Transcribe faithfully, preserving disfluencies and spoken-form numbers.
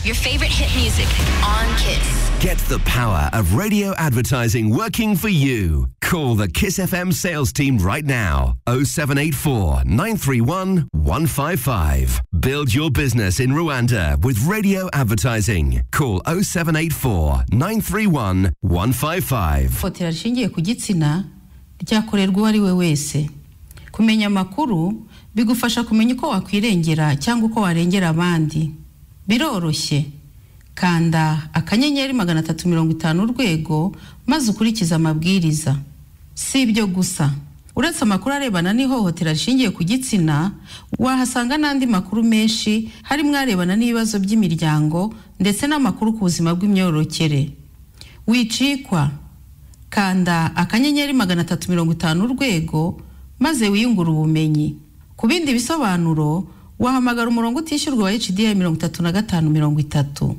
Your favorite hit music on Kiss. Get the power of radio advertising working for you. Call the Kiss F M sales team right now. oh seven eight four, nine three one, one five five. Build your business in Rwanda with radio advertising. Call oh seven eight four, nine three one, one five five. Hotera rishingiye ku gitsina ryakorerwa uwo ari we wese. Kumenya amakuru bigufasha kumenya uko wakwirengera cyangwa uko warengera abandi. Biroroshye. Kanda akanyenyeri magana atatu mirongo itanu urwego maze ukurikiza amabwiriza. Si ibyo gusa. Uretse amakuru arebana n'ihohotera rishingiye ku gitsina, wahasanga n'andi makuru menshi harimo arebana n'ibibazo by'imiryango ndetse n'amakuru ku buzima bw'imyororokere. Wicikwa. Kanda akanyenyeri magana atatu mirongo itanu urwego maze wiyungura ubumenyi. Ku bindi bisobanuro wahamagara umurongo utishyurwa wa H D I mirongo itatu na gatanu mirongo itatu.